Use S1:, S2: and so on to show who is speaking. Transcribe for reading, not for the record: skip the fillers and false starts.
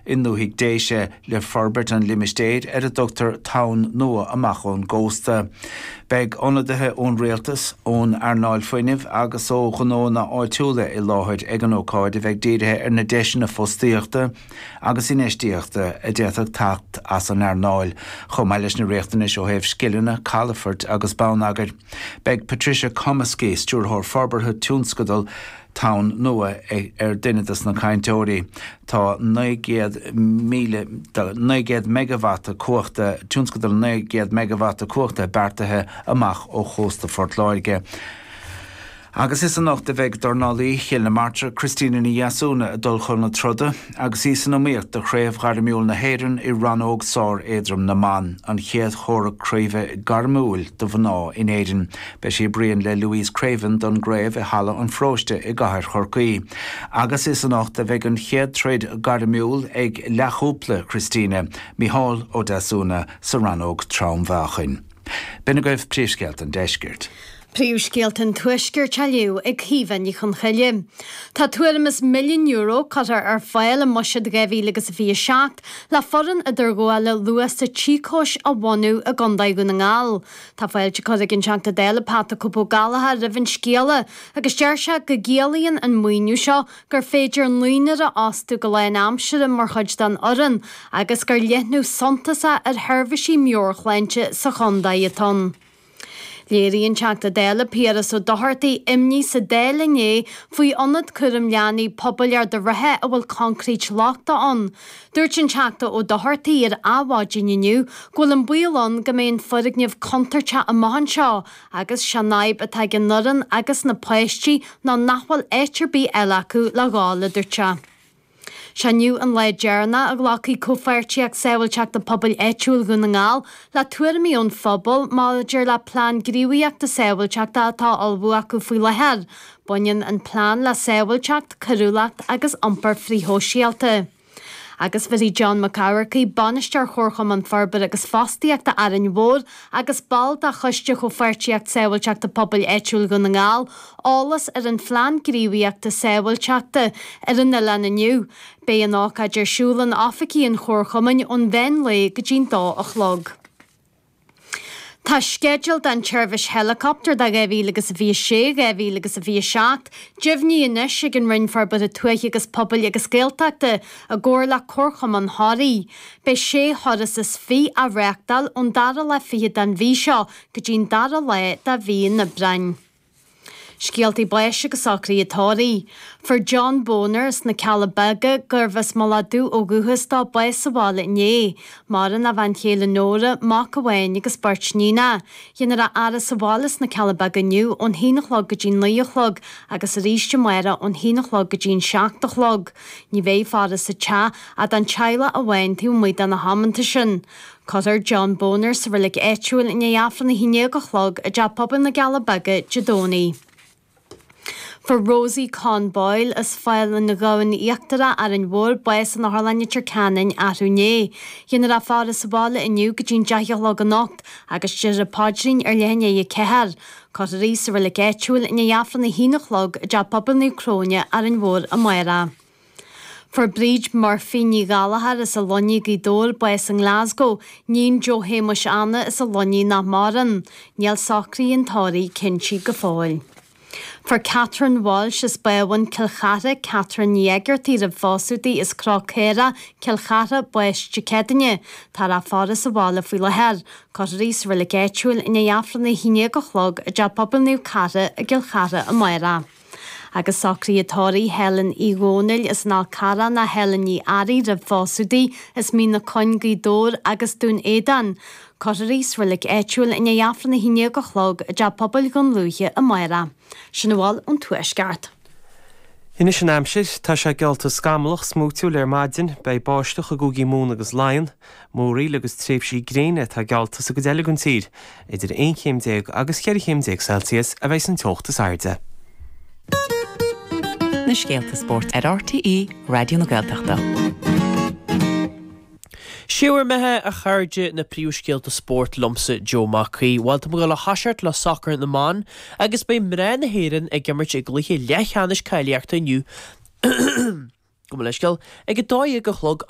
S1: I ndúthaigh Déise le forbairt an limistéir ar a dtugtar Tonn Nua amach ón gcósta. Beidh ionadaithe ón rialtas, ón earnáil fuinnimh agus ó ghnóanna áitiúla i láthair ag an ócáid a bheidh dírithe ar na deiseanna fostaíochta agus infheistíochta a d'fhéadfadh teacht as an earnáil, chomh maith leis na riachtanais ó thaobh scileanna, calafoirt agus bonneagair. Beidh Patricia Cumiskey, Stiúrthóir Forbartha Tionscadal, Tonn Nua ar duine de na cainteoirí. Tá 900,000, 900 meigeavata cumhachta, tionscadal 900 meigeavata cumhachta beartaithe amach ó chósta Phort Láirge. Agus is anocht a bheidh dornálaí Chill na Martra, Christina Ní Dheasúna ag dul chun na troda agus í san iomaíocht do Chraobh Ghairmiúil na hÉireann i rannóg sár-éadrom na mban, an chéad chomhrac craoibhe gairmiúil do mhná in Éirinn. Beidh sí ag bruíon le Louise Craven don gcraobh i Halla an Pharóiste i gcathair Chorcaí. Agus is anocht a bheidh an chéad troid gairmiúil ag leathchúpla Christina, Micheál Ó Deasúna, sa rannóg trom-mheáchain. B'in agaibh príomhscéalta an deiscirt.
S2: Príomhscéalta an Tuaiscirt á léamh ag Caoimhe Ní Chonchoille. Tá tuairim is €1 milliún curtha ar fáil i mBuiséad 2027 le foireann idirghabhála luasa Tíocóis a bhunú i gContae Dhún na nGall. Tá fáilte curtha ag an Teachta Dála Pat 'The Cope' Ó Gallchóir roimh an scéala agus deir sé go gciallaíonn an maoiniú seo gur féidir naonúr a fhostú go lánaimseartha mar chuid den fhoireann agus gur leathnú suntasach ar sheirbhísí meabhairshláinte sa chontae atá ann. Léirigh an Teachta Dála Piaras Ó Dochartaigh imní sa Dáil inné faoi ionad cúram leanaí pobail Ard an Rátha a bhfuil coincréit lochtach ann. Dúirt an Teachta Ó Dochartaigh ar Adhmhaidin inniu go bhfuil an baol ann go mbeidh an foirgneamh contúirteach amach anseo agus sé an fhadhb atá ag an fhoireann agus na páistí ná nach bhfuil áit ar bith eile acu le dhul, a dúirt sé. Sé inniu an lá deireanach a ghlacfaidh Comhpháirtíocht Sábháilteachta Pobail Áitiúil Dhún na nGall le tuairimí ón phobal maidir le plean gníomhaíochta sábháilteachta atá á ullmhú acu faoi láthair. Baineann an plean le sábháilteacht, coiriúlacht agus iompar frithshóisialta. Agus bhéarfaidh John Mac Eamharcaigh, Bainisteoir Chomharchumann Forbartha agus Fostaíochta Árainn Mhór agus ball de Choiste Chomhpháirtíocht Sábháilteachta Pobail Áitiúil Dhún na nGall, eolas ar an Phlean Gníomhaíochta Sábháilteachta ar an oileán inniu. Beidh an ócáid ar siúl in oifigí an Chomharchumainn ón mheán lae go dtí'n dó a chlog. Tá sceideal don tseirbhís heileacoptair do 2026, 2027 deimhnithe anois ag an Roinn Forbartha Tuaithe agus Pobail agus Gaeltachta i gcomhar le Comharchumann Thoraí. Beidh sé thuras is fiche á reáchtáil ón dara lá fichead den mhí seo go dtí'n dara lá de mhí an Aibreáin. Scéaltaí báis agus socruithe tórraimh. Fuair John Boner as na Cealla Beaga, gurbh as Mullach Dubh ó dhúchas dó, bás sa bhaile inné. Maireann a bhean chéile Nóra, mac amháin agus beirt níonach. Déanfar a fhaire sa bhaile sna Cealla Beaga inniu ón haon a chlog go dtí'n naoi a chlog agus arís amárach ón haon a chlog go dtí'n seacht a chlog. Ní bheidh faire sa teach ach don teaghlach amháin taobh amuigh de na hamanta sin. Cuirfear John Boner sa reilig áitiúil i ndiaidh Aifreann 11 a chlog i dTeach Pobail na gCealla Beaga Dé Domhnaigh. Fuair Rosie Con Boyle as Fál an Ghabhann Íochtarach, Árainn Mhór, bás in Otharlann Leitir Ceanainn arú inné. Déanfar a faire sa bhaile inniu go dtí'n 10 a chlog anocht agus déarfar an paidrín ar leath i ndiaidh a ceathair. Cuirfear í sa reilig áitiúil i ndiaidh Aifreann 1 a chlog i dTeach Pobail Naomh Cróine, Árainn Mhór amárach. Fuair Bríd Murphy Ní Ghallchóir as an Luinnigh, Gaoth Dobhair, bás i nGlasgow, níon Joe Shéamuis Anna as an Luinnigh nach maireann. Níl socruithe an tórraimh cinnte go fóill. Fuair Catherine Walsh as Bábhún, Cill Chartha, Catherine Ní Éigeartaigh roimh phósadh di as Cnoc Caorach, Cill Chartha, bás Dé Céadaoine. Táthar á faire sa bhaile faoi láthair. Cuirfear í sa reilig áitiúil i ndiaidh Aifreann 11 a chlog i dTeach Pobail Naomh Cartha i gCill Chartha amárach. Agus socruithe tórraimh Helen Uí Dhónaill as an Fhál Carrach ná Helen Ní Fhearraigh roimh phósadh di as Mín na Coinn, Gaoth Dobhair agus Dún Éideann. Cuirfear í sa reilig áitiúil i ndiaidh Aifreann 11 a chlog i dTeach Pobail Dhún Lúiche amárach. Sin a bhfuil ón Tuaisceart.
S3: Anois an aimsir. Tá sé geallta scamallach, smúitiúil ar maidin. Beidh báisteach i gcúigí Mumhan agus Laighean. Múraíl agus tréimhsí gréine atá geallta sa gcuid eile den tír. Idir 11 chéim agus 14 chéim Celsius a bheidh an teocht is airde.
S4: Na scéalta spóirt ar RTÉ Raidió na Gaeltachta.
S5: Sé bhur mbeatha, a chairde, na príomhscéalta spóirt liomsa, Joe Mac Aoidh. Bhuel, tá muid ag dul a thoiseacht le sacar na mban agus beidh mná na hÉireann ag imirt i gcluiche leathcheannais cáilíochta inniu. Gabh mo leithscéal, ag 12 a chlog.